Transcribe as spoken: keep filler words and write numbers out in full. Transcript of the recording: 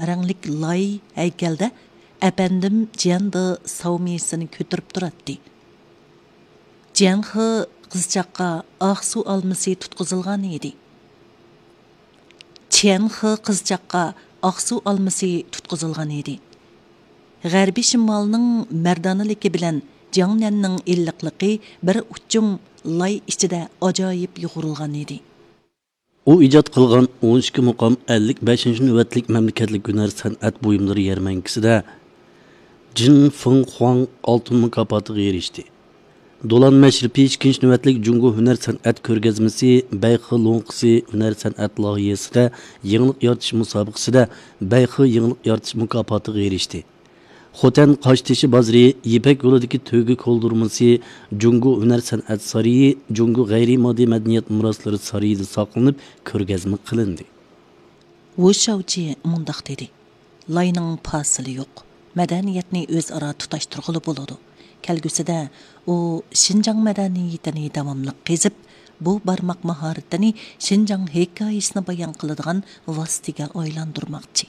رەڭلىك لاي ھەيكەلدە ئەپەندىم جيەن دې ساۋمىسىنى كۆتۈرۈپ تۇراتتى. جيەنخې قىزچاققا ئاقسۇ ئالمىسى تۇتقۇزۇلغان ئىدى. چيەنخې قىزچاققا ئاقسۇ ئالمىسى تۇتقۇزۇلغان ئىدى. غەربىي شىمالنىڭ مەردانىلىكى بىلەن جياڭنەننىڭ ئىللىقلىقى بىر ئۇچۇم لاي ئىچىدە ئاجايىپ يۇغۇرۇلغان ئىدى. ئۇ ئىجاد قىلغان ئون ئىككى مۇقام ئەللىك بەشىنچى نۆۋەتلىك مەملىكەتلىك ھۈنەر سەنئەت بۇيۇملىرى يەرمەنكىسىدە جىن فېڭ خۇاڭ ئالتۇن مۇكاپاتىغا ئېرىشتى. دولان مەشرىپى ئىككىنچى نۆۋەتلىك جۇڭگو ھۈنەر سەنئەت كۆرگەزمىسى بەيخې لوڭقىسى ھۈنەر سەنئەت لايىھەسىدە يېڭىلىق يارىتىش مۇسابىقىسىدە بەيخې يېڭىلىق يارىتىش مۇكاپاتىغا ئېرىشتى. خوتەن قاشتېشى بازىرى، يىپەك يولىدىكى تۆگە كولدۇرمىسى، جۇڭگو ھۈنەر سەنئەت سارىيى، جۇڭگو غەيرىي ماددىي مەدەنىيەت مىراسلىرى سارىيىدا ساقلىنىپ، كۆرگەزمە قىلىندى. ۋۇ شاۋچى مۇنداق دېدى: لاينىڭ پاسىلى يوق، مەدەنىيەتنى ئۆزئارا تۇتاشتۇرغىلى بولىدۇ. كەلگۈسىدە ئۇ شىنجاڭ مەدەنىيىتىنى داۋاملىق قېزىپ، بۇ بارماق ماھارىتىنى شىنجاڭ ھېكايىسىنى بايان قىلىدىغان ۋاسىتىگە ئايلاندۇرماقچى.